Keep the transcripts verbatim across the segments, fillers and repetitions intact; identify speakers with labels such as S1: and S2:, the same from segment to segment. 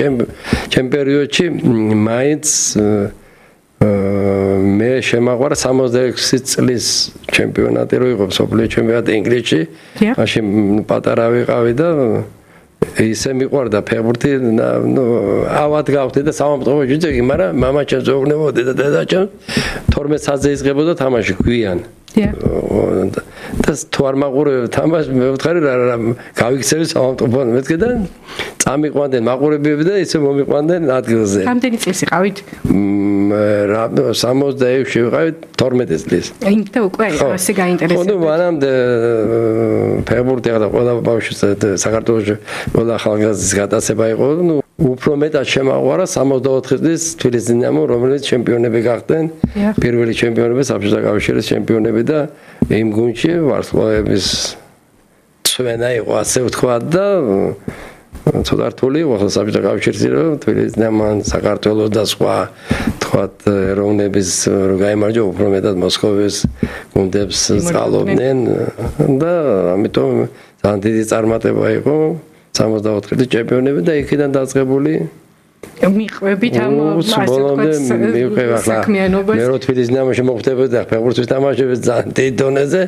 S1: ჩემ პერიოდში მაინც მე შემაყვარა სამოცდაექვსი წლის ჩემპიონატი რო იყო მსოფლიო ჩემპიონატი ინგლისში მაშინ პატარა ვიყავი და ისე მიყვარდა ფეხბურთი ნუ ავად გავხდი და სამომწყობო ჯიჯეგი მაგრამ მამაჩემს ეუბნებოდი და დედაჩემ თორმეტ საათზე იწყებოდა თამაში გვიან და თუ არ მაყურებ თამაშს მე ვთხარი რა გავიქცევი სამომწყობო მეთქედან წამიყვანდნენ მაყურებები და ისე მომიყვანდნენ ადგილზე
S2: რამდენი წლის იყავით
S1: რა სამოცდაექვსი ვიყავით თორმეტი წლის
S2: იმით უკვე ასე გაინტერესებდა
S1: ხო ნუ მანამდე ფეხბურთი ახლა ყველა ბავშვს საქართველოში ყველა ახალგაზრდის გატაცება იყო ნუ უფრო მეტად შემაყვარა სამოცდაოთხი წლის თბილისის დინამო რომელიც ჩემპიონები გახდნენ პირველი ჩემპიონები საბჭოთა კავშირის ჩემპიონები და იმ გუნდში ვარსკვლავების წვენა იყო ასე ვთქვათ და ცოტა რთული იყო ახლა საბჭოთა კავშირში რომ თბილისის დინამო საქართველოს და სხვა თქვათ ეროვნების რო გაიმარჯვა უფრო მეტად მოსკოვის გუნდებს წყალობდნენ და ამიტომ ძალიან დიდი წარმატება იყო სამოცდაოთხი წლის ჩემპიონები და იქიდან დაწყებული
S2: მიყვებით ამ ასე ვთქვათ საქმიანობას
S1: მე რო თბილისის დინამოში მოხვდებოდი და ფეხბურთის თამაშები ძალიან დიდ დონეზე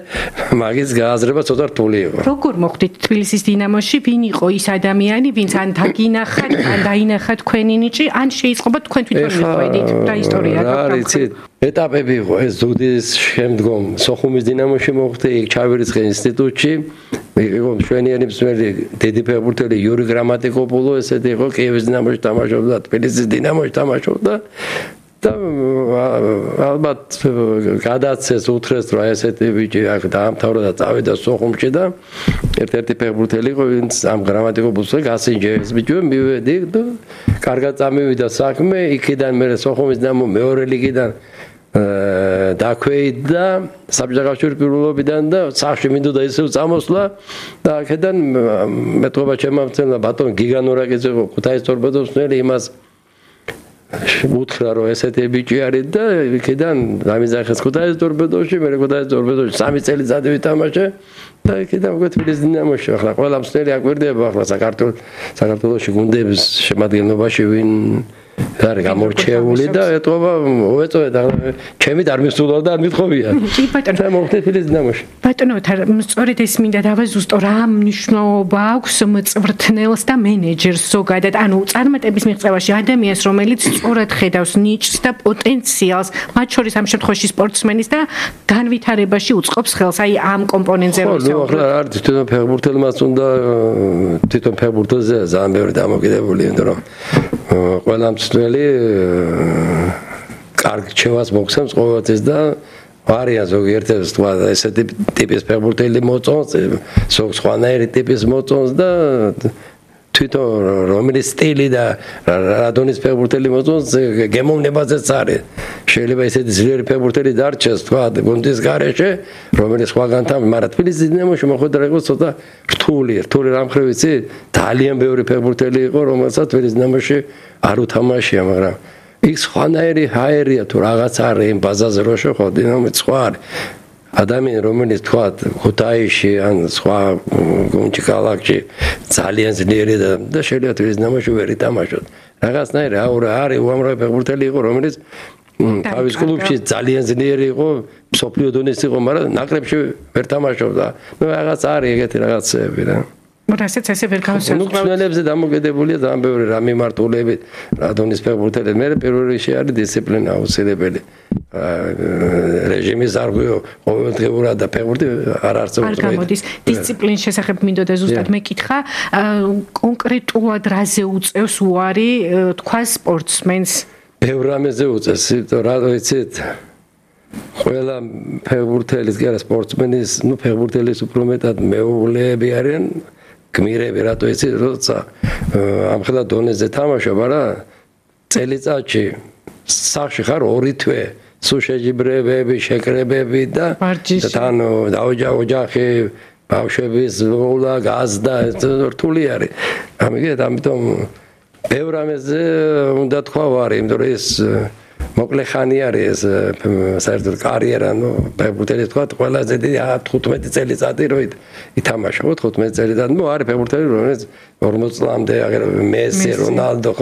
S1: მაგის გააზრება ცოტა რთული იყო
S2: როგორ მოხვდით თბილისის დინამოში ვინ იყო ის ადამიანი ვინც ან დაგინახათ ან დაინახათ თქვენი ნიჭი ან შეიწყობა თქვენ თვითონ მიყვედით რა ისტორია
S1: რა იცით ეტაპები იყო ეს ზუგდიდის შემდგომ სოხუმის დინამოში მოხვდი იქ ჩავირიცხე ინსტიტუტში იყო მშვენიერი მსმელი დიდი ფეხბურთელი იური გრამატიკოპულო ესეთი იყო კიევის დინამოში თამაშობდა თბილისის დინამოში თამაშობდა და ალბათ გადაცეს უთხრეს რომ ესეთი ბიჭი აქ დაამთავრა და წავიდა სოხუმში და ერთ-ერთი ფეხბურთელი იყო ვინც ამ გრამატიკოპულოს გასინჯეს ბიჭო მივედი და კარგად წამივიდა საქმე იქიდან მე სოხუმის დინამო მეორე ლიგიდან დაქვეითდა საბჭოთა კავშირის პირველობიდან და სახში მინდოდა ისევ წამოსვლა და აქედან მეტყობა ჩემამცემლა ბატონ გიგანურაკიძე იყო ქუთაისის ტორპედოსნელი იმას უთხრა რომ ესეთი ბიჭი არის და იქიდან დამიზახეს ქუთაისის ტორპედოში მე ქუთაისის ტორპედოში სამი წელიწადი ვითამაშე და იქიდან უკვე თბილისის დინამოში ახლა ყველა მსმელი აკვირდება ახლა საქართველოს საქართველოში გუნდების შემადგენლობაში ვინ არის გამორჩეული და ეტყობა უეწოეთ ჩემი არ მისულა და არ მithოვია
S2: კი ბატონო
S1: და მოხდა თბილისის დინამოში
S2: ბატონო სწორედ ეს მინდა დავაზუსტო რა მნიშვნელობა აქვს მწვრთნელს და მენეჯერს ზოგადად ანუ წარმატების მიღწევაში ადამიანს რომელიც სწორად ხედავს ნიჭს და პოტენციალს მათ შორის ამ შემთხვევაში სპორტსმენის და განვითარებაში უწყობს ხელს აი ამ კომპონენტზე
S1: რომ ისაუბროთ ახლა არ თვითონ ფეხბურთელმაც უნდა თვითონ ფეხბურთელზე ძალიან ბევრი დამოკიდებული იმიტომ რომ ყველა მსვლელი კარგ რჩევას მოგცემს ყოველთვის და არიან ზოგიერთი თქვა ესეთი ტიპის ფეხბურთელი მოწონს სხვანაირი ტიპის მოწონს და თვითონ რომელი სტილი და რა დონის ფეხბურთელი მოწონს გემოვნებაზეც არის შეიძლება ესეთი ძლიერი ფეხბურთელი დარჩეს თქვა გუნდის გარეშე რომელიც სხვაგან თამაშობს მაგრამ თბილისის დინამოში მოხვედრა იყო ცოტა რთული რთული რამხრივ იცი ძალიან ბევრი ფეხბურთელი იყო რომელსაც თბილისის დინამოში არ უთამაშია მაგრამ იქ სხვანაირი ჰაერია თუ რაღაც არის იმ ბაზაზე რო შეხო დინამოც სხვა არის ადამიანი რომელიც თქვა ქუთაისში ან სხვა გუნდში ქალაქში ძალიან ძლიერი და შეიძლება თბილისის დინამოში ვერ ითამაშოთ რაღაცნაირი აურა არის უამრავი ფეხბურთელი იყო რომელიც თავის კლუბში ძალიან ძლიერი იყო მსოფლიო დონის იყო მაგრამ ნაკრებში ვერ თამაშობდა ნუ რაღაც არის ეგეთი რაღაცები რა
S2: რასაც ესე ვერ გავსაუბრებ.
S1: ნუ ხსნელებზე დამოკიდებულია ძალიან ბევრი რა მიმართულებით, რა დონის ფეხბურთელი. მე პირველ რიგში არის დისციპლინა აუცილებელი. რეჟიმის არღვიო ყოველდღიურად და ფეხბურთი არ არსებობს.
S2: არ გამოდის. დისციპლინის შესახებ მინდოდა ზუსტად მეკითხა, კონკრეტულად რაზე უწევს უარი თქვა სპორტსმენს?
S1: ბევრ რამეზე უწევს, რა ვიცით? ყველა ფეხბურთელის კი არა სპორტსმენის, ნუ ფეხბურთელის უფრო მეტად მეუღლეები არიან. გმირები რატო იცი როცა ამხელა დონეზე თამაშობ არა წელიწადში სახში ხარ ორი თვე სულ შეჯიბრებები შეკრებები და თან დაოჯა ოჯახი ბავშვების მოულა გაზდა რთული არის ამიგეთ ამიტომ ბევრ რამეზე უნდა თქვა ვარი იმიტომ რომ ეს მოკლე ხანი არის ეს საერთოდ კარიერა ნუ ფეხბურთელი თქვა ყველაზე დიდი თხუთმეტი წელიწადი რო ითამაშა თხუთმეტი წელიწადი ნუ არის ფეხბურთელი რომელიც ორმოც წლამდე აგერ მესი რონალდო